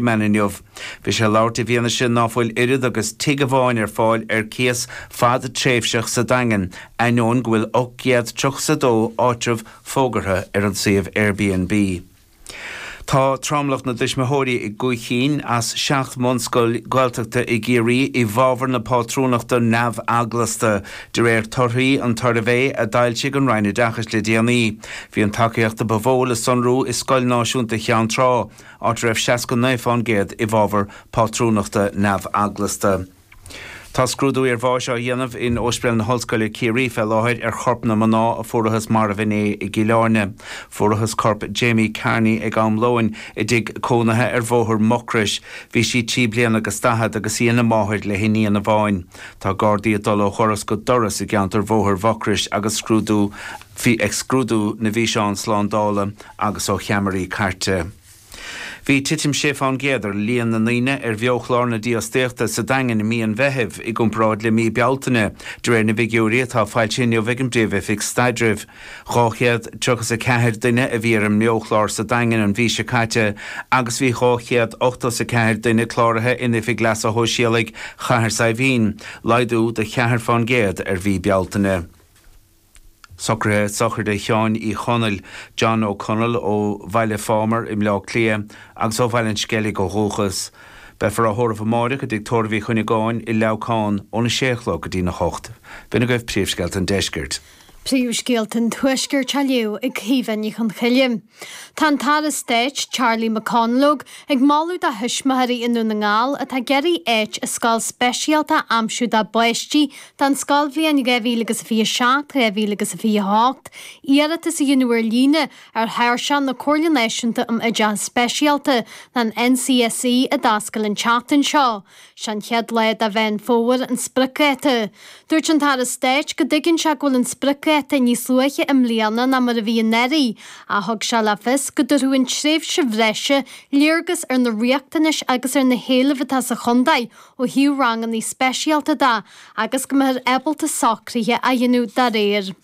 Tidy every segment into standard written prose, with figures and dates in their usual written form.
Meán inniu. Bhí sé ag labhairt i bhfianaise ná fuil oiread agus tigh amháin ar fáil ar cíos fad-tréimhseach sa Daingean, ainneoin go bhfuil 832 áitreabh fógartha ar an suíomh Airbnb. Tá tromlach na dtuismitheoirí i gcúig chinn as 7 mbunscoil Ghaeltachta i gCiarraí i bhfabhar na pátrúnachta neamh-eaglasta, de réir torthaí an tsuirbhé a d'fhoilsigh an Roinn Oideachais le déanaí. Bhí an tacaíocht a ba mhó le sonrú i Scoil Náisiúnta Cheann Trá, áit a raibh 69% i bhfabhar pátrúnachta neamh-eaglasta. Tá scrúdú iarbháis á dhéanamh in Ospidéal na hOllscoile Ciarraí fé láthair ar chorp na mná a fuarathas marbh inné i gCill Airne. Fuarathas corp Jamie Kearney ag am lóin i dtigh cónaithe ar Bhóthar Mhucrois. Bhí sí 3 bliana agus 40 agus í ina máthair le hiníon amháin. Tá Gardaí ag dul ó dhoras go doras i gceantar Bhóthar Mhucrois agus scrúdú ag scrúdú na bhfíseán slándála. agus ó cheamaraí cairte. Bhí titim 6 fán gcéad ar líon na ndaoine ar bheochlár na dífhostaíochta sa Daingean i mí an Mheithimh i gcomparáid le mí Bealtaine, de réir na bhfigiúirí atá foilsithe inniu ag an bPríomh-Oifig Staidrimh. 234 duine a bhí ar an mbeochlár sa Daingean an mhí seo caite agus bhí 284 duine cláraithe in Oifig Leasa Shóisialaigh Chathair Saidhbhín, laghdú de cheathair fán gcéad ar mhí Bealtaine. Socruithe sochraide Sheáin Uí Chonaill, John O'Connell, ó Bhaile Phámar i mBleá Cliath agus ó Bhaile an Sceilg ó dhúchas. Beifear á thórramh amáireach i dTigh Tórraimh Uí Chuinneagáin i Leamhcán óna sé a chlog go dtína hocht. B'in agaibh príomhscéalta an deiscirt. Príomhscéalta an Tuaiscirt á léamh ag Caoimhe Ní Chonchoille. Tá an tAire Stáit, Charlie McConalogue, ag moladh do thuismitheoirí i nDún na nGall atá ag iarraidh áit i scoil speisialta a aimsiú dá bpáistí don scoilbhliain 2027, 2028, iarratas a dhéanamh ar líne ar thairseach na Comhairle Náisiúnta um Oideachas Speisialta, an NCSE, a d'oscail an tseachtain seo. Sé an chéad lá de Mheán Fómhair an spriocdháta. Dúirt an tAire Stáit go dtuigeann sé go bhfuil an spriocdháta níos luaithe i mbliana ná mar a bhí anuraidh, ach thug sé le fios go dtabharfadh an tréimhse bhreise léargas ar na riachtanais agus ar na héilimh atá sa chontae ó thaobh ranganna speisialta de agus go mbeifear ábalta socruithe a dhéanamh dá réir.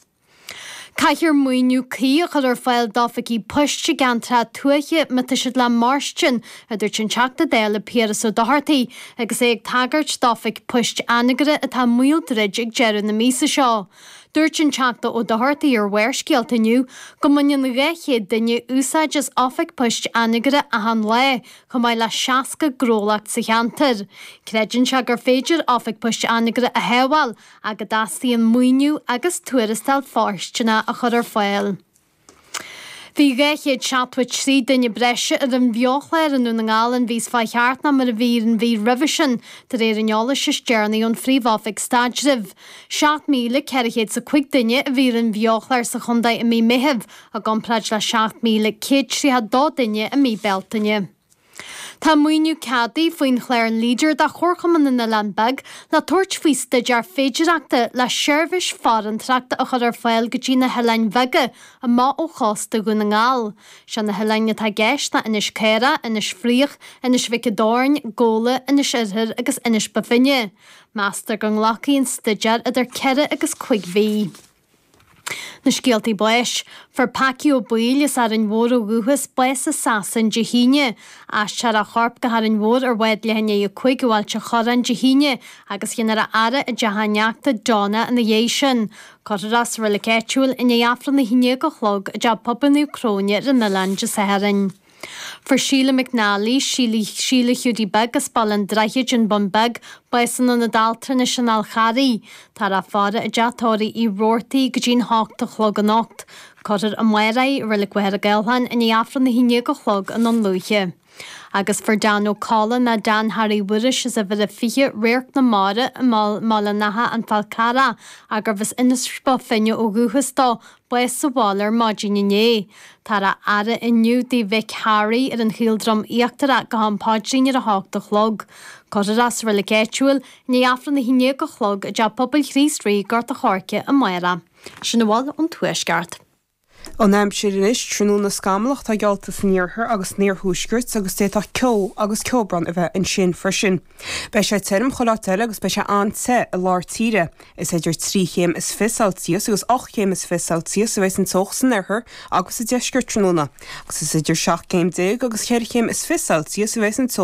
Caithfear maoiniú cuí a chur ar fáil d'oifigí poist i gceantracha tuaithe má tá siad le mairstin, a dúirt an Teachta Dála Piaras Ó Dochartaigh agus é ag tagairt d'oifig poist Anagaire atá i mbaol druid ag deireadh na míosa seo. Dúirt an Teachta Ó Dochartaigh ar Bharrscéalta inniu go mbaineann 200 duine úsáid as oifig poist Anagaire achan lá, chomh maith le 60 gnólacht sa cheantar. Creideann sé gur féidir oifig poist Anagaire a shábháil ach go dteastaíonn maoiniú agus tuarastal fóirsteanach a chur ar fáil. Bhí 273 duine breise ar an bheochlár i nDún na nGall an mhí seo chuaigh thart ná mar a bhí an mhí roimhe sin, de réir an eolais is deireanaí ón Phríomh-Oifig Staidrimh. 7,405 duine a bhí ar an bheochlár sa chontae i mí Meithimh, i gcomparáid le 7,132 duine i mí Bealtaine. Tá maoiniú ceadaithe faoin chlár Leader do Chomharchumann na nOileán Beag le tabhairt faoi staidéar féidireachta le seirbhís farantóireachta a chur ar fáil go dtí na hoileáin bheaga amach ó chósta Dhún na nGall. Sé na hoileáin atá i gceist ná Inis Caorach, Inis Fraoich, Inis Mhic an Doirn, Gabhla, Inis Oirthir agus Inis Bó Finne. Meastar go nglacfaidh an staidéar idir ceithre agus cuig mhí. Na scéaltaí báis. Fuair Packie Ó Baoill as Árainn Mhór ó dhúchas, bás i Sasain Dé hAoine. Aistreofar a chorp go hÁrainn Mhór ar bhád leath i ndiaidh a 5 ó Ailt an Chorráin Dé hAoine agus dhéanfar a fhaire i dteach a ineachta, Donna, ina dhiaidh sin. Cuirfear é sa reilig áitiúil i ndiaidh Aifreann 11 a chlog i dTeach Pobail Naomh Cróine ar an Oileán Dé Sathairn. Fuair Síle McNally, Síle, Síle Hiúdaí Beag as Baile an Droichid, An Bun Beag, bás in Ionad Altranais an Fháil Charraigh. Táthar á faire i dteach tórraimh Uí Robhartaigh go dtí'n hocht a chlog anocht. Cuirfear amárach í i Reilig Mhachaire Gathlán i ndiaidh Aifreann 11 a chlog i nDún Lúiche. Agus fuair Dan Ó Colla ná Dan Harry Mhuiris as uimhir a 20, Radharc na Mara, i mBaile an Átha, An Fál Carrach, gurbh as Inis Bó Finne ó dhúchas dó, bás sa bhaile ar maidin inné. Táthar á fhaire inniu dtigh mhic Harry ar an Chaoldroim Íochtarach go ham paidrín ar a hocht a chlog. Cuirfear é sa reilig áitiúil i ndiaidh Aifreann 11 a chlog i dTeach Pobail Chríost Rí, Gort a' Choirce amárach. Sin a bhfuil ón Tuaisceart. An aimsir anois, tráthnóna scamallach atá geallta san iarthar agus san iarthuaisceart agus d'fhéadfadh ceo agus ceobhrán a bheith ansin freisin. Beidh sé tirim chuile áit eile agus beidh sé an-te i lár tíre. Is idir trí chéim is fiche Celsius agus 18 chéim is fiche Celsius a bheidh an teocht san oirthear agus sa deisceart tráthnóna agus is idir 17 céim agus 24 chéim is fiche Celsius a bheidh an teocht.